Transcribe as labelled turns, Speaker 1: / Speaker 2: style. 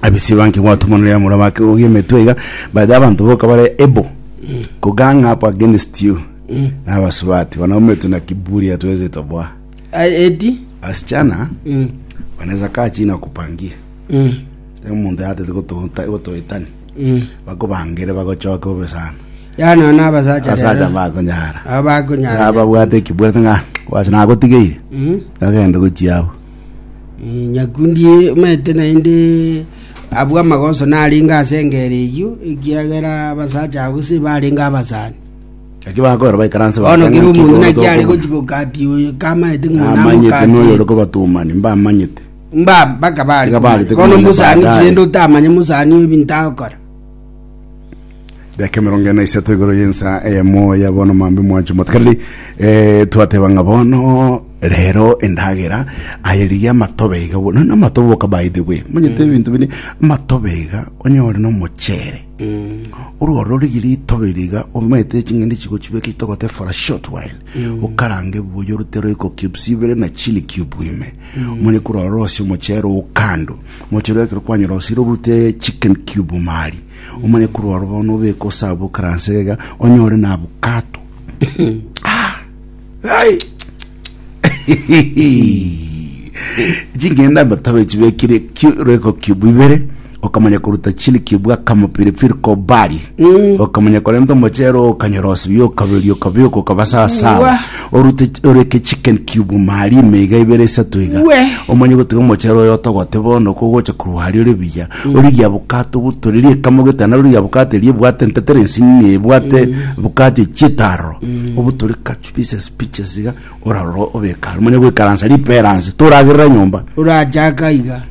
Speaker 1: Abisibanki gwatumanire amura bake ogie emetwe iga but abanto boka bare able ko gang up against you na abasubati wanaume tuna kiburi hatuwezi toboa
Speaker 2: Ah, eti
Speaker 1: wasichana
Speaker 2: mm.
Speaker 1: wanaweza kaa chini wakupangie
Speaker 2: Mm.
Speaker 1: omonto yatete gotoeta gotoetani
Speaker 2: Mm.
Speaker 1: bakobangere bagochoke bobe sana
Speaker 2: Yani ono abasacha
Speaker 1: abasacha
Speaker 2: rero
Speaker 1: bakonyara
Speaker 2: abo bakonyara
Speaker 1: ababwate ekibwate ng'a gwacha nagotigeire
Speaker 2: Mm.
Speaker 1: agende gochia abwo
Speaker 2: Nyakundi omanyete naende abwo amagoso narenge ase engero eyio, ekiagera abasacha abwo se barenge abasani.
Speaker 1: Eki bakora baikaranse
Speaker 2: Bono
Speaker 1: bakanga
Speaker 2: kera
Speaker 1: ki
Speaker 2: omonto
Speaker 1: bono
Speaker 2: naki are
Speaker 1: tokobuna.
Speaker 2: gochi gokati oyo kamanyete ng'a
Speaker 1: Namanyete noyo ore
Speaker 2: namokati
Speaker 1: kobatumani mbamanyete.
Speaker 2: mba mpaka bare
Speaker 1: Iga
Speaker 2: komanya.
Speaker 1: bagete
Speaker 2: Bono
Speaker 1: komanya
Speaker 2: mosani
Speaker 1: baadaye.
Speaker 2: rende otamanye mosani oyo ebinto agokora.
Speaker 1: Daka emerongo ene na isato igoro y'ensa eyemo ya bono mambi mwancho motegereri eh, twateba ng'a bono rero endagera aye rigia amatobe iga bo- nonya amatobe boka by the way manyete ebinto bire amatobe iga onyore na omochere ororo rigia ritobe riga omanyete ching'ende chigochibeka chitogote for a short while okarange buya orute royco cubes ibere na chili cube ime omanye korora rosie omochere oo kando omochere ekero kwanyorosire orute chicken cube mari Omanye korwa aro bono obeke osabe okaranse iga onyore na abukato. Ah! Ai! Ching'ende amatobe chibekire ki- royco cube ibere okamanya koruta chili cube akamo pilipili kobari okamanya korenta omochere okanyorosia okaberia okabeka okaba sawa sawa
Speaker 2: Wa.
Speaker 1: orute oreke chicken cube mari ime iga ibere isato iga
Speaker 2: We.
Speaker 1: omanye gotiga omochere oyo otogote bono kogocha korwa aria ore buya Origie abukato obutorerie ekamo getana origie abukato eria ebwate entetere ensinini ebwate abukato echiete aroro obutore kachu pieces pieces iga orarora obeke aro omanye goikaransa ripera nse toragerera nyomba.
Speaker 2: Orachaka iga.